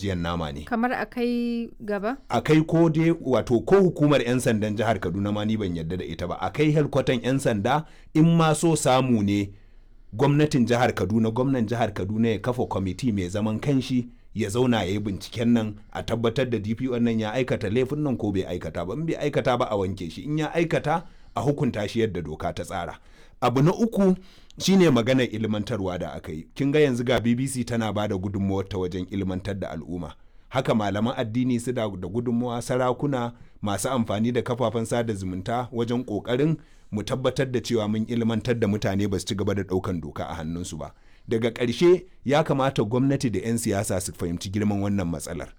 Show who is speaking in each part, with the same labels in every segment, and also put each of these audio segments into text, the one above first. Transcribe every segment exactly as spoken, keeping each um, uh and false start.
Speaker 1: ajiyan nama ne.
Speaker 2: Kamar a kai gaba?
Speaker 1: A kai ko dai wato ko hukumar 'yan sandan jihar Kaduna ma ni ban yarda da ita ba. A kai helkwatan 'yan sanda, in ma so samu ne gwamnatin jihar Kaduna, gwamnan jihar Kaduna ya kafa kwamiti mai zaman kanshi ya zauna ya yi binciken nan a tabbatar da D P O nan ya aikata laifin nan ko bai aikata ba. In bai aikata ba, a wanke shi. In ya aikata, a hukunta shi yadda doka ta tsara. Abu na uku shine maganar ilmantarwa da aka yi. Kin ga yanzu ga B B C tana ba da gudunmawar ta wajen ilmantar da al'umma. Haka malaman addini su da gudunmawa, sarakuna, masu amfani da kafafen sada zumunta wajen kokarin mu tabbatar da cewa mun ilmantar da mutane ba su ci gaba da daukan doka a hannunsu ba. Daga ƙarshe, ya kamata gwamnati da 'yan siyasa su fahimci girman wannan matsalar.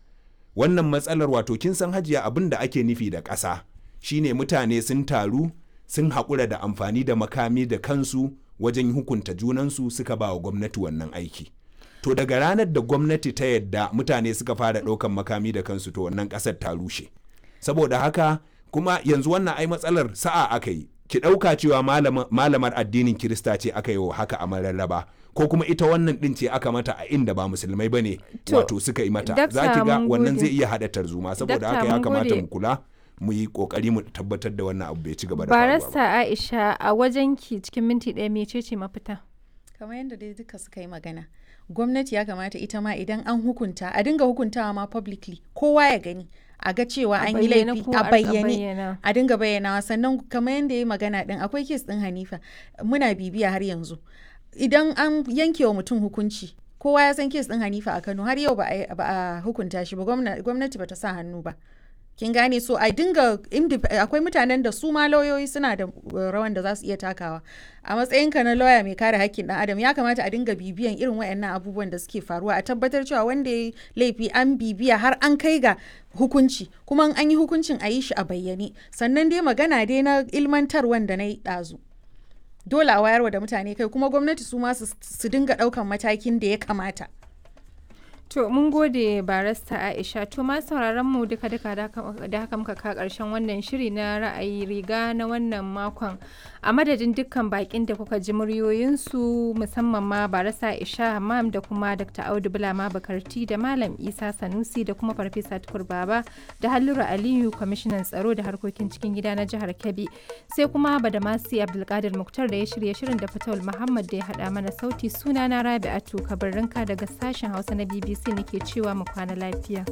Speaker 1: Wannan matsalar, wato kin san hajiya, abin da ake nufi da ƙasa shine mutane sun taru, sun haƙura da amfani da makami da kansu wajen hukunta junansu, suka ba wa gwamnati wannan aiki. To daga ranar da gwamnati ta yadda mutane suka fara ɗaukan makami da kansu, to wannan ƙasar ta rushe. Saboda haka kuma yanzu wannan ai matsalar sa'a aka yi. Ki ɗauka cewa malamar addinin Kirista ce aka yi wa haka a Mararraba, ko kuma ita wannan ɗin ce aka mata a inda ba musulmai ba ne wato suka yi mata, za ki ga wannan zai iya haɗa tarzoma. Saboda haka ya kamata mu kula, mu yi kokari mu tabbatar da wannan abu bai ci gaba da faruwa ba.
Speaker 2: Barista Aisha, a wajenki cikin minti ɗaya, mecece mafita?
Speaker 3: Kamar yadda dai duka suka yi magana, gwamnati ya kamata ita ma idan an hukunta a dinga hukuntawa ma publicly, kowa ya gani, a ga cewa an yi laifi a bayyane, a dinga bayyanawa. Sannan kamar yadda ya yi magana din, akwai case din Hanifa muna bibiya har yanzu. Idan an yanke wa mutum hukunci, kowa ya san case din Hanifa a Kano, har yau ba a hukunta shi ba, gwamnati ba ta sa hannu ba. Kin gane? So a dinga, akwai mutanen da su ma lauyoyi suna da rawan da za su iya takawa. A matsayinka na lauya mai kare hakkin dan adam, ya kamata a dinga bibiyan irin wayannan abubuwan da suke faruwa, a tabbatar cewa wanda ya laifi an bibiya har an kai ga hukunci, kuma an yi hukuncin a yi shi a bayyane. Sannan dai magana dai na ilmantarwan da na yi ɗazu, dole a wayarwa da mutane kai, kuma gwamnati su ma su dinga ɗaukan matakin da ya kamata.
Speaker 2: To mun gode, Barista Aisha. To ma sauraron mu, duka duka da haka muka ka karshen wannan shiri na Ra'ayi Riga na wannan makon. A madadin dukkan bakin da kuka ji muryoyinsu, musamman ma Barista Aisha Hammam da kuma Doctor Audu Bulama Bakarti da Malam Isa Sanusi da kuma Farfesa Tukur Baba da Halluru Aliyu, kwamishinan tsaro da harkokin cikin gida na jihar Kebbi. Sai kuma Badamasi Abdulkadir Muktar da ya shirya shirin da Fatawul Muhammad da ya haɗa mana sauti, sunana Rabi'atu Kabirrinka daga sashen Hausa na B B C nake cewa mu kwana lafiya.